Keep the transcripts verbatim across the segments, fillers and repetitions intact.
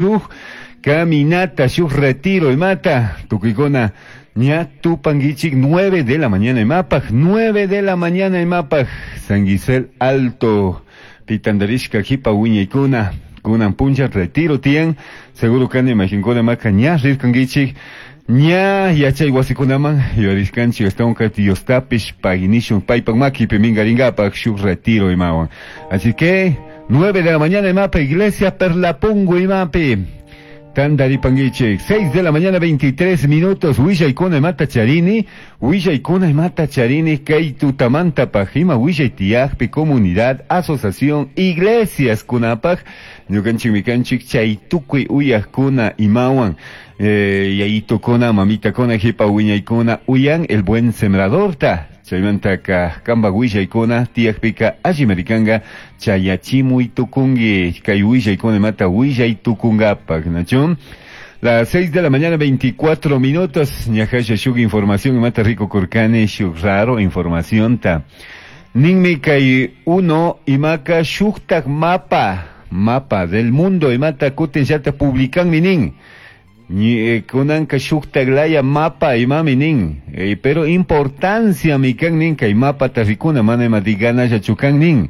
Shuk caminata, shuk retiro imata, tukuykuna ña tupanguichik nueve de la mañana imapaj, nueve de la mañana imapaj, San Gisel Alto, pitandarishka jipa wiñaykuna, kunan puncha retiro tiyan, seguro kani imaginkuna maka ña rirkanguichik, ña yachay wasikunaman yurishkanchik ashtawanka Diostapish paginishun paypak makipi minkarinkapak shuk retiro imawan. Así que nueve de la mañana imapa, Iglesia Perlapungo imapi. Tandaripanguichik, seis de la mañana veintitrés minutos, willaykuna imata charini, willaykuna imata charini, kay tutamantapaj, ima willay tiyajpi, comunidad, asociación, iglesias kunapaj, ñukanchik mikanchik chay tukuy uyajkuna imawan, eh, yayitukuna, mamitakuna, jipa wiñaykuna, uyan el buen sembradorta. Chaymantaka kamba willaykuna tiyakpika allimarikanga chayachimuy tukunki kay willaykuna imata willay tukunkapak, ¿nachu? Las seis de la mañana veinticuatro minutos, ñajasha shuk información imata rico kurkani shuk raro información ta. Ninmi kay uno imaka shuktak mapa, mapa del mundo imata kutin llata publican nin. Ni kunanka shuktak laya mapa imami nin, eh, pero importancia mi kan nin kay mapa ta rikuna mana ima digana chukan nin.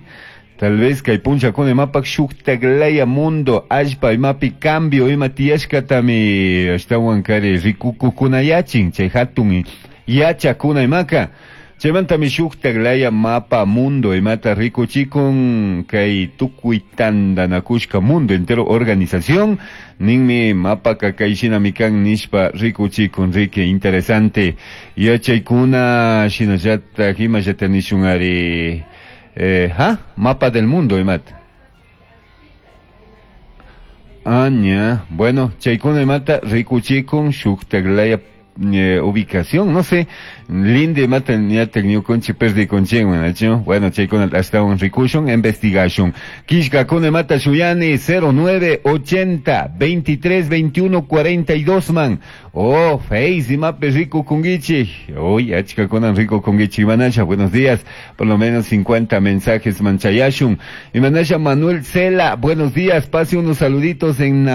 Tal vez kay puncha kuna mapa shuktak laya mundo allpa imapi cambio ima tiyashkatami ashtawan kari rikukukuna yachin chay hatun yachakuna imaka. Chaymantami shuktak laya mapa mundo imata rikuchikun kay tukuy tantanakushka mundo entero organización ninmi mapa kay shinami kan nishpa rikuchikun riki interesante yachaykuna shinallatak imallata nishun ari eh, ha mapa del mundo imata. Aña, bueno, chaykuna imata rikuchikun shuktak laya Eh, ubicación, no sé, linde mata ñata ñukunchi perdi conchenwan, bueno, chaykuna hasta un ricushon, investigation. Kishka kune mata shuyani cero nueve ochenta veintitrés veintiuno cuarenta y dos man. Oh, face y mape rico kungichi. Uy, achka kunan rico kungichi manasha, buenos días. Por lo menos cincuenta mensajes manchayashun. Y manasha Manuel Cela, buenos días. Pase unos saluditos en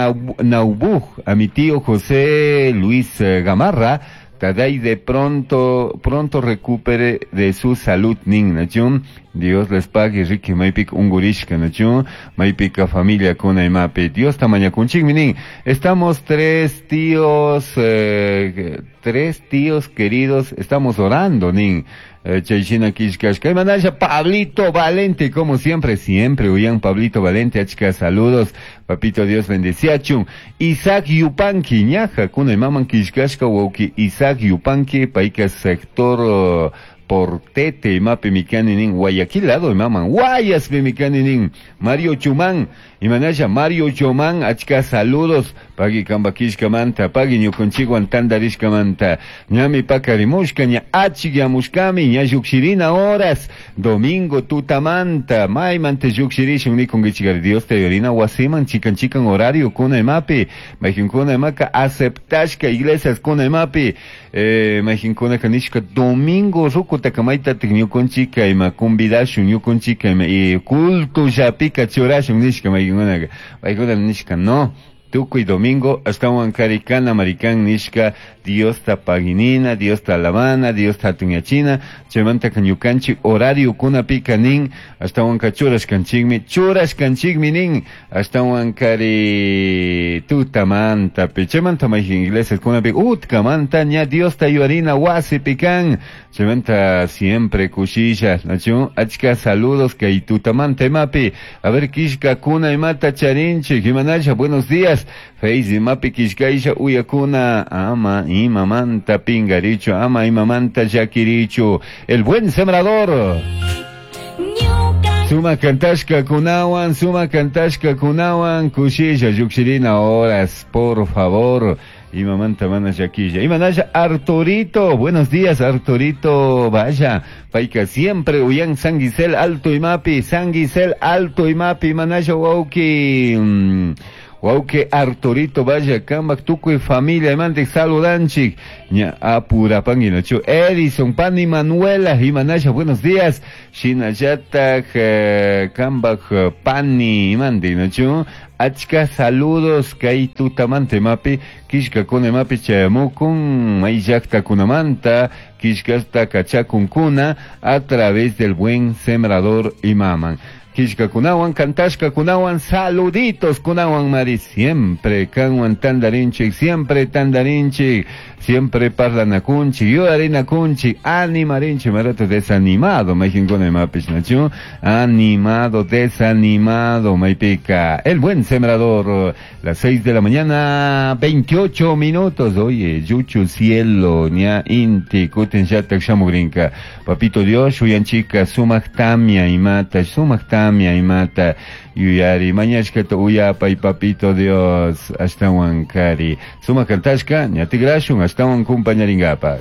Naubuj a mi tío José Luis Gamarra. Taday de pronto, pronto recupere de su salud, nin, nachun. Dios les pague, Ricky, maipik ungurishka, nachun. Maipika familia kuna imape. Dios tamaña kunchik, minin. Estamos tres tíos, eh, tres tíos queridos, estamos orando, nin. Chayshina kishkashka. Y manasha Pablito Valente, como siempre, siempre, uyan Pablito Valente, achka, saludos, papito Dios bendeciachun. Isaac Yupanqui, ñaja, kuna imaman kishkashka, wauki Isaac Yupanqui, paika sector uh, Portete, imapi mikani nin, Guayaquil lado imaman, Guayas mikani nin, Mario Chumán, imanasha Mario Chumán, achka saludos, pagi kambakishkamanta, pagi ñukunchikwan tandarishkamanta, ñami pakarimushka, ña achikyamushkami, ña llukshirina horas, domingo tutamanta, maymanta llukshirishun nikunkichikari, Dios te yorina wasiman, chikan chikan horario kuna imapi, mayjinkuna imaka aceptashka iglesias kuna imapi, eh, mayjinkuna kanishka domingo ruku takamayta ñukunchika ima convidashun ñukunchika ima y culto llapika churashun nishka mayjinkunaka, paykuna nishka no. Tukuy domingo ashtawan karikana marikan nishka Dios ta paginina, Dios ta alabana, Dios ta hatunyachina, chaymanta ñukanchik horario kunapika nin, ashtawan ka churashkanchikmi, churashkanchikmi nin, ashtawan kari tutamantapi, chaymanta mayjin iglesias kunapi utkamanta ña Dios ta yuarina wasipi kan, chaymanta siempre kushilla, nachu, achka saludos kay tutamanta imapi, a ver kishka kuna imata charinchik, imanasha, buenos días. Face mapi kishkaisha uyakuna ama imamanta pingaricho, ama imamanta yakiricho, el buen sembrador. Suma kantashka kunawan, suma kantashka kunawan, kushilla yukshirina horas, por favor. Imamanta mana yaquilla. Imanaya Arturito, buenos días Arturito, vaya, paika siempre uyan San Gisel Alto Imapi, San Gisel Alto Imapi, manaya wauki. Wauki Arturito Valle kambak tukuy familia imantik saludanchik. Ña apurapangi nachu. Edison Pani Manuela imanasha buenos días. Shinallatak eh, kambak eh, pani imantik nachu. Achka saludos kay tutamante mapi kishkakuna imapi chayamukun may llaqtakunamanta kishkasta kachakunkuna a través del buen sembrador imaman. Kishkakunawan, kantashkakunawan, saluditos kunawan mari, siempre kanwan tandarinchik, siempre tandarinchik, siempre parlanakunchik, yuyarinakunchik, animarinchik, marato desanimado, mayqinkuna imapish nachu, animado, desanimado, maypika, el buen sembrador, las seis de la mañana, veintiocho minutos, oye, yuchu cielo, ña inti, kutin llatak shamugrinka, papito Dios, shuyanchika, sumak tamia imata, sumak tamia imata, yuyari, mañashkata uyapay papito Dios, ashtawan kari, sumak kantashka, ña tikrashun, ashtawan kumpañaringapak.